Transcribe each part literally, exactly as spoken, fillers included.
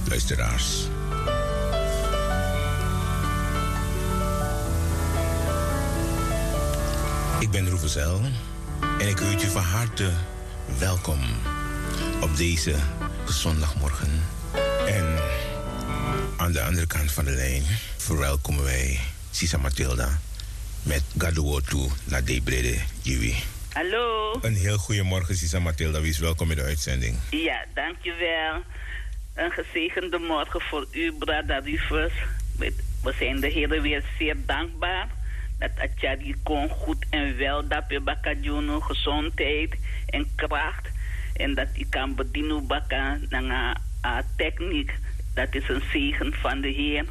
Luisteraars. Ik ben Roevezel en ik heet u van harte welkom op deze zondagmorgen. En aan de andere kant van de lijn verwelkomen wij Sisa Matilda met Gado Wortu na Dei Brede Jiwi. Hallo. Een heel goede morgen, Sisa Matilda. Wees welkom in de uitzending. Ja, dankjewel. Een gezegende morgen voor u, brada Rufus. We, we zijn de Heer weer zeer dankbaar dat a tyari kon goed en wel dape baka gi unu gezondheid en kracht. En dat u kan bedien u baka nanga a techniek. Dat is een zegen van de Heer.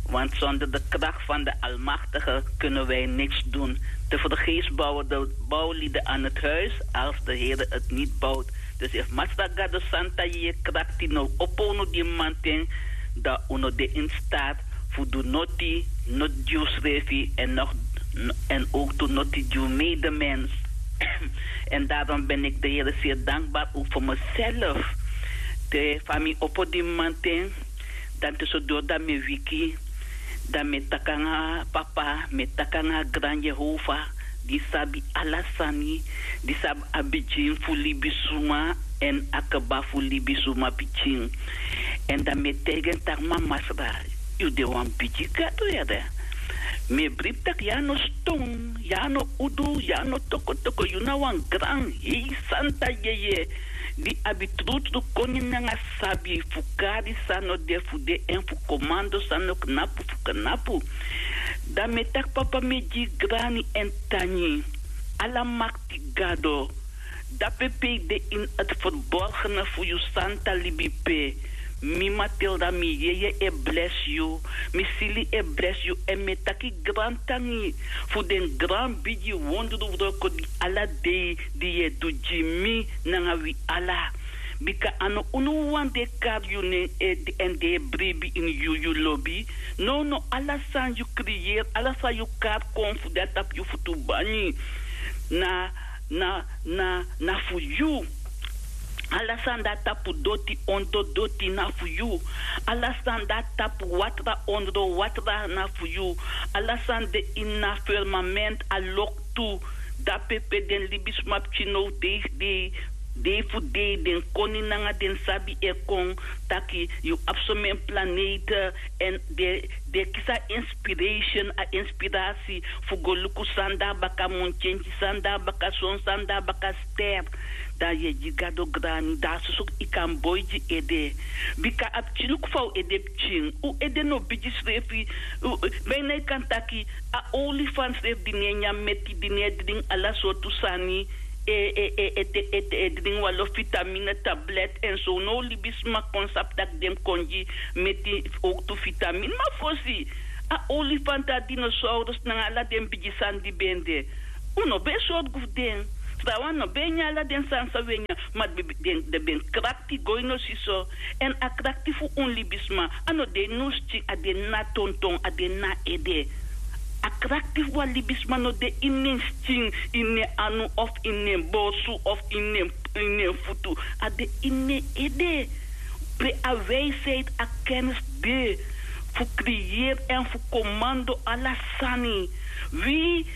Want zonder de kracht van de Almachtige kunnen wij niks doen. Tevergeefs bouwen de bouwlieden aan het huis als de Heer het niet bouwt. Dus efu Masra Gado Santa yeye krakti no opo unu gi manten, dan un no de in staat fu du noti, noti gi usrefi en nog, en ook tu noti gi un medemens. En daarom ben ik de Heer zeer dankbaar ook voor mezelf. Te fa mi opo gi manten, dan te so dori dan mi e wiki, dan mi e taki nanga papa, mi e taki nanga gran Yehova, di sabi ala sani, di sabi a bigin fu libisuma en a kba fu libisuma pikin. En dan mi e taigi en taki: Ma Masra, yu de wan bigi Gado yere. Mi e bribi taki yu a no ston, yu a no udu, yu a no tokotoko, yu na wan gran hei santa yeye di abi trutru koni nanga sabi fu kari san no de fu de en fu komando san no knapu fu knapu. Dan mi e taki: Papa, mi e gi yu grani en tangi, ala makti Gado. Dape pe yu de ini a ferborgene fu yu santa libi pe, mi Matilda, mi yeye e blesi yu, mi sili e blesi yu, èn mi e taki grantangi fu den gran bigi wondruwroko di ala dei di yu e du gi mi nanga wi ala. Bika a no unu wawan di e kari yu nen èn di e bribi ini yu, yu lobi. Nownow ala san yu kriyeri, ala san yu kari kon fu de na tapu yu futu bangi, na, na, na, na fu yu. Ala san de na tapu doti, ondro doti, na fu yu. Ala san de na tapu watra, ondro watra, na fu yu. Ala san de ini a firmament, a loktu, dape pe den libisma pikin now dei, dei, dei fu dei, den koni nanga den sabi e kon taki yu abi someni planete, èn den, den e kisi a inspiration, a inspirasi fu go luku san de na baka muntyentyi, san de na baka son, san de na baka ster. Dan yu e gi Gado grani, dan a soso yu kan boi gi ede. Bika a pikin luku fa un ede pikin, un ede no bigi srefi. Bijna yu kan taki a olifant srefi di no e nyan meti, di no e dringi ala sortu sani, e, e, e, e, te, e, te, e dringi wan lo vitamine tablet en so. Now libisma kon sabi taki den mus kon gi meti, ook tu vitamine. Ma fosi, a olifant, a dinosaurus nanga ala den bigi sani di ben de, un no ben sorgu fu den. Trawan no ben nyan ala den sani san un e nyan, ma den, den, den ben krakti go ini un si so. Èn a krakti fu un libisma, a no de ini un skin, a de ini a tonton, a de ini a ede. A krakti fu wan libisma no de ini en skin, ini en anu, of ini en borsu, of ini en, ini en futu. A de ini en ede. Pe a wijsheid, a kennis de fu kriyeri èn fu komando ala sani. Wi,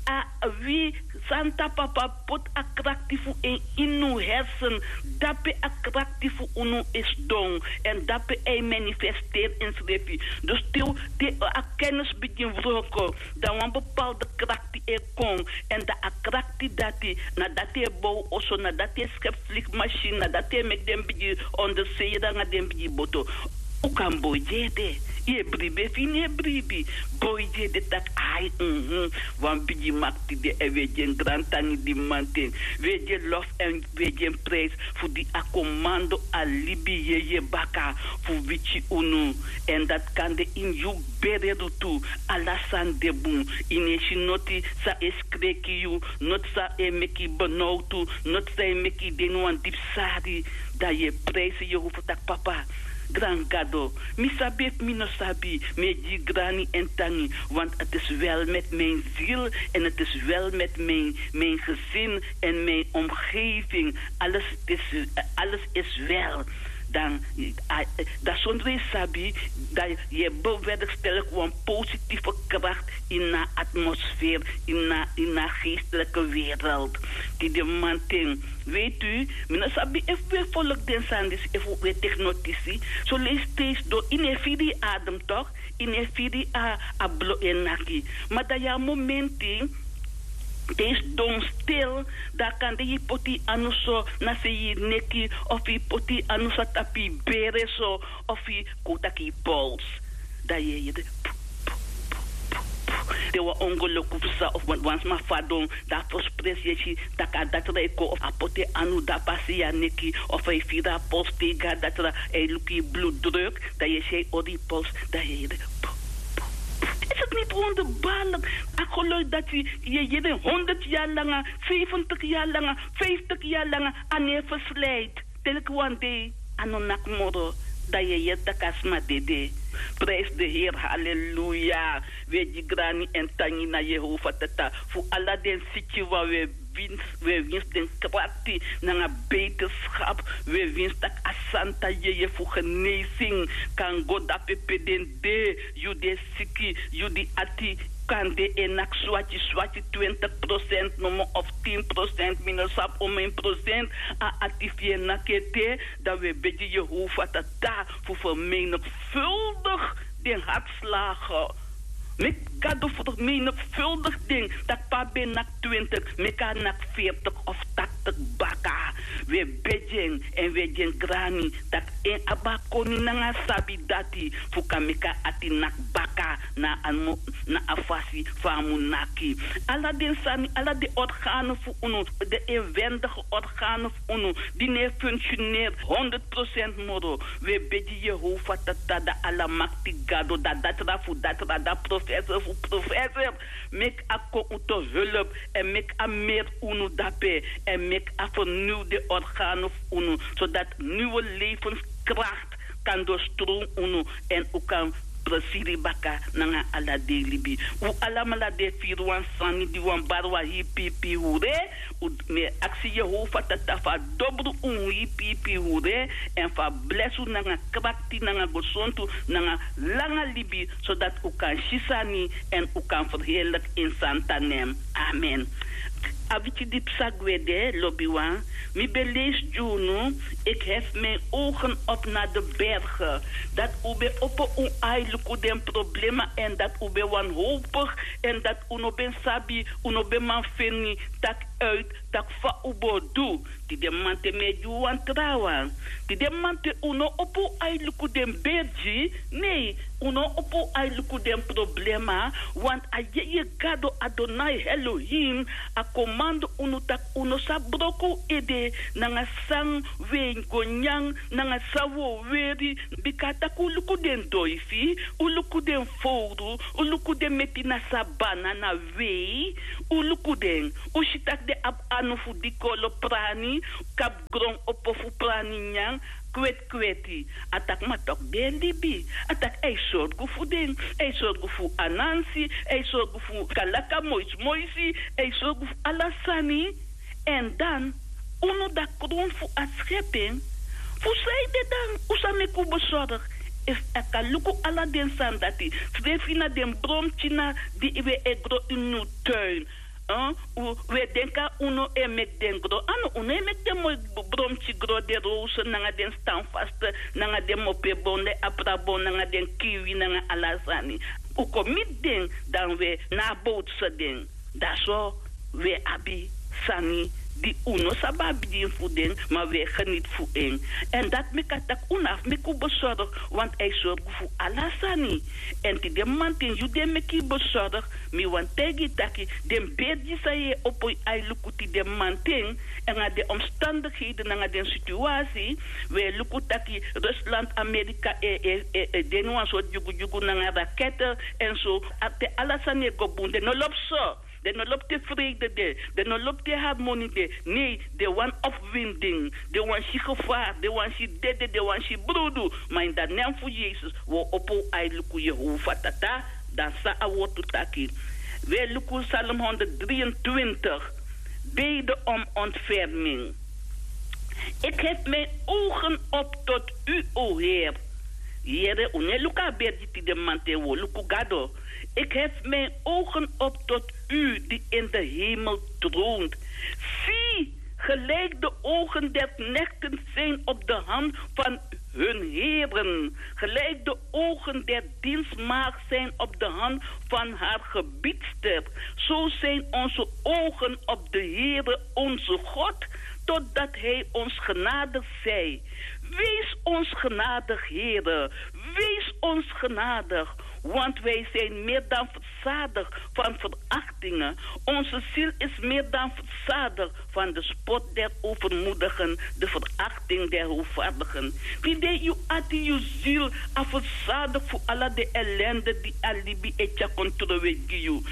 a, wi Santa Papa poti a krakti fu en ini un hersen, dape a krakti fu unu e sidon, èn dape a e manifesteri ensrefi. Dus te, te a kennis bigin wroko, dan wan bepaalde krakti e kon, èn dan a krakti dati, na dati e bow oso, na dati e skepu vliegmachine, na dati e meki den bigi onderzeeër nanga den bigi boto. Un kan boi gi ede, yu e bribi efu yu no e bribi. Boi gi ede taki: ai, mhm, wan bigi makti de, èn wi e gi en grantangi di manten. Wi e gi en lof èn wi e gi en prijs fu di a komando a libi yeye baka fu wiki unu. Èn dati kan de ini yu bere lutu, ala sani de bun. Yu no e si noti san e skreki yu, noti san e meki yu benowtu, noti san e meki yu de ini wan dipi sari. Dan yu e prijsi Yehova taki: Papa, gran Gado, mi sabi efu mi no sabi, mi e gi yu grani èn tangi, want het is wel met mijn ziel en het is wel met mijn, mijn gezin en mijn omgeving. Alles is, alles is wel. Dan, dan sondro yu sabi, dan yu e bewerkstellig wan positieve kracht in na atmosfeer, in na in na geestelijke wereld. Di de manting, weet u, mi no sabi efu we volk den sani disi efu we tek notisi. So leisi steeds do in e firi adem toch, in e firi a a blo en naki. Ma dan ya momenti te yu sidon stil, dan kande yu poti yu anu so na sei yu neki, of yu poti yu anu so a tapu yu bere so, of yu kon taki yu pols. Dan yu e yere pu, pu, pu, pu, pu. Te wan ongeluku fu sa of wan sma fadon, dan a fospres yu e si tak' a datra e kon of a poti en anu dapu a sei a neki, of a e firi a pols te yu go a datra, a e luku yu bloeddruk, dan yu e si a e hori yu pols, dan yu e yere pu, pu, pu. Is het niet wonderbaarlijk? A geluk dati yu e yere honderd yari langa, vijfentig yari langa, vijftig yari langa, a no e verslijt. Teleki wan dei a no naki moro, dan yu e yere tak' a sma dede. Prijs de heer, halleluya. Wi e gi grani èn tangi na yehova tata fu ala den siki wan wi e winsi, wi e winsi den krakti nanga beterskap. Wi e winsi tak' a santa yeye fu genesin kan go dape pe den de. Yu di e siki, yu di ati kande e naki swaki swaki, twintig prosent nomo of tin prosent, mi no sabi omen prosent a ati fu yu e naki ete. Dan wi e begi yehova tata fu vermenigvuldig den hartslagen. Meki gado vermenigvuldig den, tak' pe a ben naki twintig, meki a naki veertig of tachtig baka. Wi e begi en èn wi e gi en grani tak' en abi a koni nanga a sabi dati fu kan meki a ati naki baka na a fasi fa a mu naki. Ala den sani, ala den organo fu unu, den inwendige organo fu unu di no e funksioneri honderd prosent moro, wi e begi yehova tata, dan alamakti gado, dan datra fu datra, dan professor fu professor, meki a kon un to hulp èn meki a meri unu dape, èn meki a verniw den organo fu unu, sodati niwe levenskrakt kan dostrowm unu èn un kan presiri baka nanga ala dei libi. Un alamala di e firi wan sani di wan bari wan hii piipii hure. Un mi e aksi yehova tata fu a dobru un hii piipii hure èn fu a blesi un nanga krakti nanga gesontu nanga langa libi, sodati un kan si sani èn un kan ferheerliki ini santa nen. Amen. A wiki di psa gwe de, lobiwan, mi ben leisi gi unu: ik hef mijn ogen op na de bergen. Dati un ben opo un ai luku den problema èn dati un ben wanhopig, èn dati un no ben sabi, un no ben man feni taki uit taki fa un bo du. Tide mamanten mi e gi un wan trawan. Tide mamanten un no opo un ai luku den bergi. Nei, un no opo un ai luku den problema. Want a yeye gado adonai elohim a komandi unu taki un no sa broko un ede nanga san un e go nyan, nanga san un o weri. Bika a taki un luku den doifi, un luku den fowru, un luku den meti na sabana na wei. Un luku den, un si tak' den abi anu fu dikolo prani, kapu gron opo fu prani nyan, kwetkweti. A taki ma toku den e libi. A taki a e sorgu fu den, a e sorgu fu anansi, a e sorgu fu kalaka moismoisi, a e sorgu fu ala sani. Èn dan unu dati kron fu a skepen. Fu sanede dan un sa meki un besorgi? Efu a kan luku ala den sani dati, srefi na den bromkina di wi e gro ini un tuin. Un e denki unu e meki den gro. A no, unu e meki den moi bromki gro, den rose nanga den stanfaste nanga den mopebon, den aprabon nanga den kiwi nanga ala sani. Un kon miti den, dan wi e na a bowtse den. Dan so wi e abi sani di un no sabi a bigin fu den, ma wi e geniti fu en. Èn dati meki a taki un no abi meki un besorgi, want a e sorgu fu ala sani. Èn tide mamanten yu di e meki yu besorgi, mi wani taigi yu taki den bergi san yu e opo yu ai luku tide mamanten, nanga den omstandigheden nanga den situasi, wi e luku taki rusland, amerika e e e e de ini wan sortu dyugudyugu nanga rakete. Èn so te ala sani e go bun, den no lobi so. Den no lobi te freide de. Den no lobi te harmoni de. Nei, den wani opwinding, den wani si gevar, den wani si dede, den wani si brudu. Ma ini dan nen fu yesus wi o opo un ai luku yehova tata. Dan san a wortu taki? Wi e luku salm honderd dri en twintig. Bede om ontferming. Ik hef mijn ogen op tot u, o Heer. Yere, un no e luku a bergi tide mamanten, un o luku Gado. Ik hef mijn ogen op tot u die in de hemel troont. Zie, gelijk de ogen der knechten zijn op de hand van hun heren, gelijk de ogen der dienstmaagd zijn op de hand van haar gebiedster, zo zijn onze ogen op de Heere, onze God, totdat Hij ons genadig zij. Wees ons genadig, Heere, wees ons genadig, want wij zijn meer dan verzadigd van verachtingen. Onze ziel is meer dan verzadigd van de spot der overmoedigen, de verachting der hoogvaardigen. Tide yu ati, yu ziel, a verzadigd fu ala den ellende di a libi e tyari kon trowe gi yu.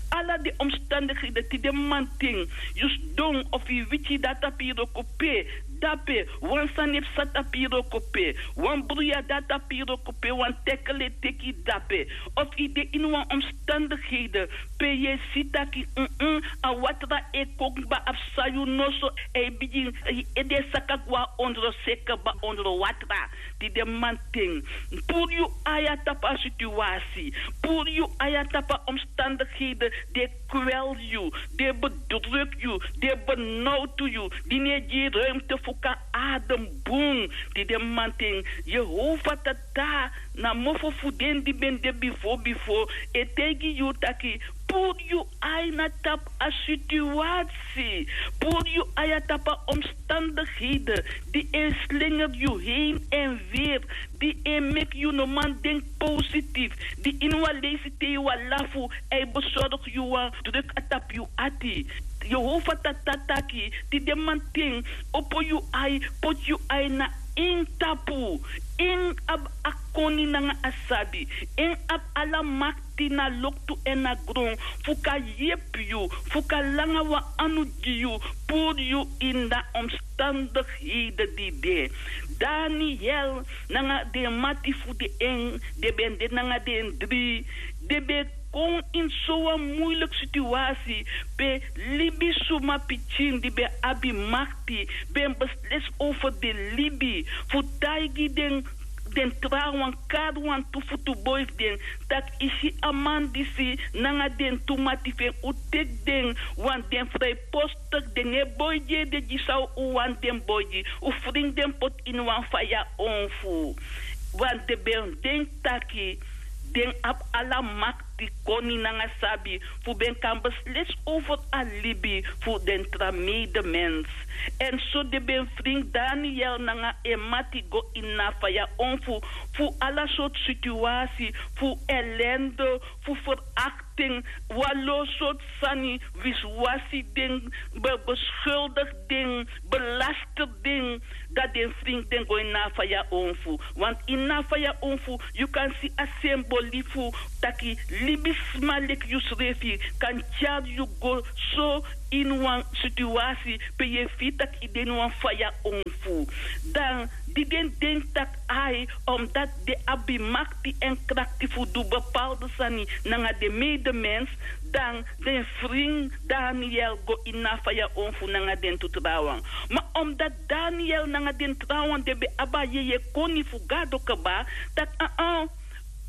Ala den omstandigheden tide mamanten, yu sidon of yu wiki dati a piro kope, dape, wan sani e psa tapu yu wroko pe, wan bruya de a tapu yu wroko pe, wan tekele teki dape, of yu de ini wan omstandigheden pe yu e si taki, mm, a watra e kon kba, a psa yu noso, e bigin, yu ede e saka gwe na ondro, seki kba ondro watra. Tide mamanten, puru yu ai na tapu a situasi, puru yu ai na tapu a omstandigheden di e kwel yu, di e bedruk yu, di e benowtu yu, di no e gi yu ruimte fu kan adem bun. Tide mamanten, Yehova Tata, na mofo fu den di ben de bifo bifo, e taigi yu taki, puru yu ai na tapu a situasi, puru yu ai na tapu a omstandigheden di e slenger yu heen en weer, di e meki yu no man denki positief, di ini wan leisi te yu e lafu, a e besorgu yu, wan druk a tapu yu ati. Yehova Tata taki, tide mamanten, opo yu ai, poti yu ai na en tapu. En abi a koni nanga a sabi. En abi ala makti na loktu èn na gron, fu kan yepi yu, fu kan langa wan anu gi yu, puru yu ini a omstandigheden di de. Daniel nanga den mati fu den en, den ben de nanga den dri, den ben kon ini sowan muiliki situasi pe libisma pikin di ben abi makti ben beslisi over den libi, fu taigi den, den trawan, kari wantu futuboi fu den, taki yu si a man disi nanga den tu mati fu en, un teki den, want den frijpostig, den no e boi gi ede gi san un wani den boi gi. Un fringi den poti ini wan faya onfu. Want den ben denki taki den abi ala makti, koni nanga sabi, fu ben kan beslisi over a libi fu den tra medemens. Èn so den ben fringi Daniel nanga en mati go ini a faya onfu, fu ala sortu situasi, fu ellende, fu verakting, wanlo sortu sani, wisiwasi den, be-, beschuldig den, belaster den, dan den fringi den go ini a faya onfu. Want ini a faya onfu, yu kan si a symboli fu taki libisma leki yusrefi kan tyari yu go so ini wan situasi pe yu e firi taki yu de ini wan faya onfu. Dan di den denki taki ai, omdat den abi makti èn krakti fu du bepaalde sani nanga den medemens, dan den fringi Daniel go ini a faya onfu nanga den tu trawan. Ma omdat Daniel nanga den trawan den ben abi a yeye koni fu Gado kaba, taki, aa,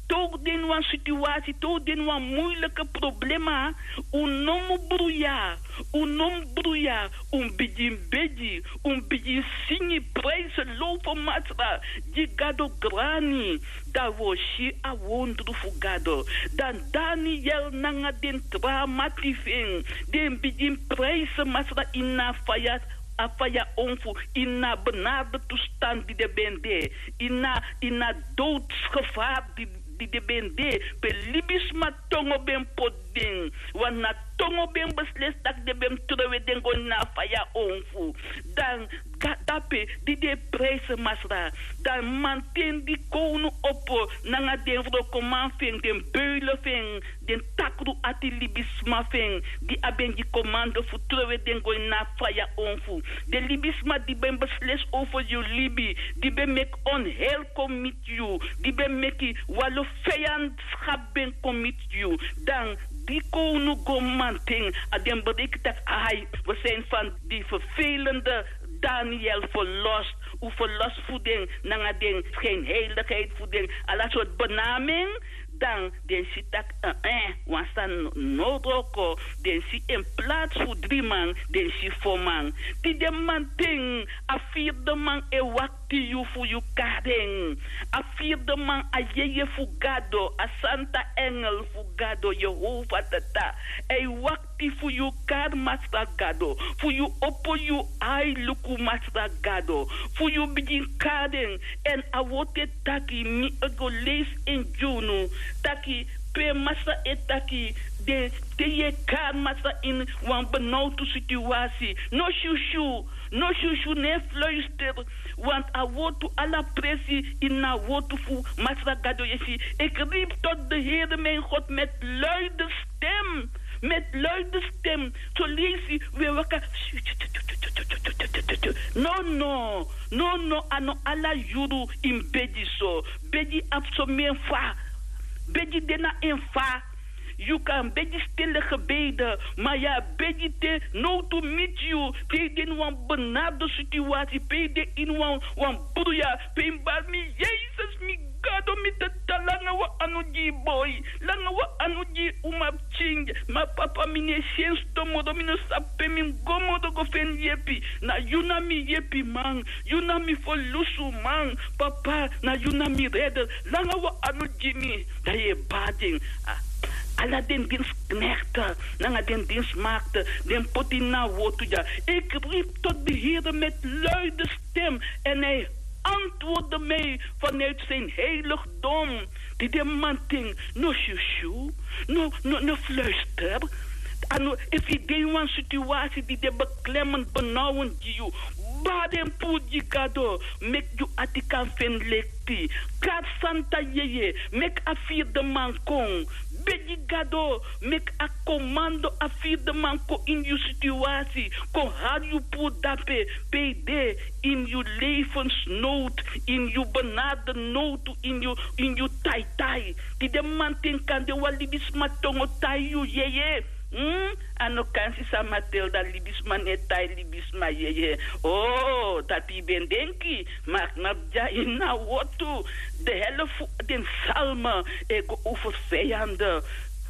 te un de ini wan situasi, te un de ini wan muiliki problema, un no mu bruya, un no mu bruya, un bigin begi, un bigin singi, prijsi, lowfu Masra, gi Gado grani, dan wi o si a wondru fu Gado. Dan Daniel nanga den tra mati fu en, den bigin prijsi Masra ini a faya, a faya onfu, ini a benarde toestand di den ben de, ini a, ini a doodsgevaar di, di den ben de, pe libisma tongo ben poti den, want na tongo ben beslisi taki den ben trowe den go ini a faya onfu. Dan ga-, dape di den e prijsi Masra, dan mamanten di kownu opo nanga den wrokoman fu en, den beule fu en, den takru ati libisma fu en, di a ben gi komando fu trowe den go ini a faya onfu. Den libisma di ben beslisi over yu libi, di ben meki onheil kon miti yu, di ben meki wanlo vijandschap ben kon miti yu. Dan di kownu go mamanten, a den bereiki taki ai, we zijn van die vervelende Daniel verlost, u verlost fu den nanga den schijnheiligheid fu den ala soort benaming. Dan den si tak' eh, wan sani no wroko. Den si in plaats fu dri man, den si fo man. Di den man ten, a vierde man e wakti yu fu yu kari en. A vierde man a yeye fu Gado, a santa engel fu Gado, Jehova Tata. A e wakti fu yu kari Masra Gado, fu yu opo yu ai luku Masra Gado, fu yu bigin kari en. Èn a wortu e taki, mi e go leisi en gi unu, taki pe Masra e taki, den te yu e kari Masra ini wan benowtu situasi, no syusyu, no syusyu, no e fluister. Want a wortu, ala presi ini a wortu fu Masra Gado. Yu e si, ik riep tot de Heer mijn God met luide stem. Met luide stem. Soleisi wi e waka. No, no, no, no, a no ala yuru yu mus begi so. Begi abi someni fa. Begi de na en fa. Yu kan begi stille gebeden, ma yu e begi te nowtu miti yu, te yu de ini wan benarde situasi, pe yu de ini wan, wan bruya, pe yu mus bari mi, Yesus, mi Gado, mi Tata, langa wan anu gi yu boi, langa wan anu gi yu umapikin. Ma Papa, mi no e si en stomoro, mi no sabi pe mi mus go moro go feni yepi. Na yu na mi yepiman, yu na mi ferlusuman. Papa, na yu na mi redder. Langa wan anu gi mi. Dan yu e bari den, a, ala den dienstknechten nanga den dienstmaagden, den poti na a wortu dya. Ik riep tot de Heer met luide stem en hij antwoordde mij vanuit zijn heiligdom. Di den man ten, no syusyu, no, no, no fluister. A no, efu yu de ini wan situasi di de beklemmend, benauwend gi yu, bari en puru gi Gado, meki yu ati kan feni leki. Kari santa yeye, meki a vierde man kon. Begi Gado, meki a komando, a vierde man kon ini yu situasi, kon hari yu puru dape, pe yu de, ini yu levensnood, ini yu benarde nowtu, ini yu, ini yu taitai. Di den man ten, kande wan libisma tongo tai yu yeye. Hmm? A no kan, sisa Matilda, libisma no e tai libisma yeye. Oh, dati yu ben denki, ma a knapu dya ini a wortu. De helft fu den psalmen e go over vijanden.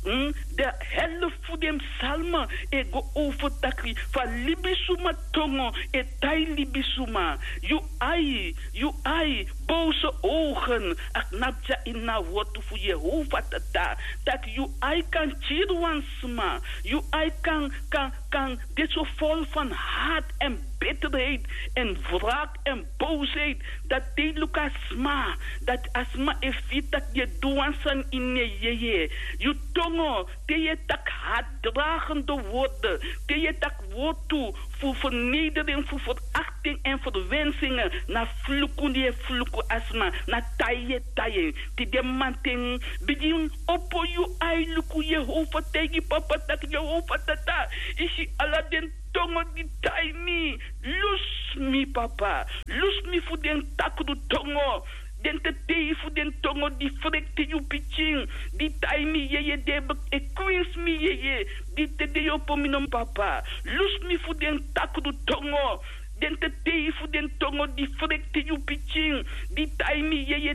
Hmm? De helft fu den psalmen e go over taki fa libisuma tongo e tai libisuma. Yu ai, yu ai, boze ogen, a knapu dya ini a wortu fu Jehova Tata. Taki yu ai kan kiri wan sma, yu ai kan, kan, kan de so vol van haat en bitterheid en wraak en boosheid, dati te yu luku a sma, dati a sma e firi taki yu e du wan sani ini en yeye. Yu tongo, te yu e taki haatdragende woorden, te yu e taki wortu fu vernedering, fu verakting en verwensingen, na fluku yu e fluku a sma, na tai yu e tai en. Di den man ten, bigin opo yu ai luku Jehova, taigi Papa taki Jehova Tata, yu si ala den tongo di tai mi, lusu mi Papa, lusu mi fu den takru tongo. Den tetei fu den tongo di frekti yu pikin, di tai mi yeye, den e kwinsi mi yeye, di te den e opo mi no Papa. Lusu mi fu den takru tongo. Den tetei fu den tongo di frekti yu pikin, di tai mi yeye,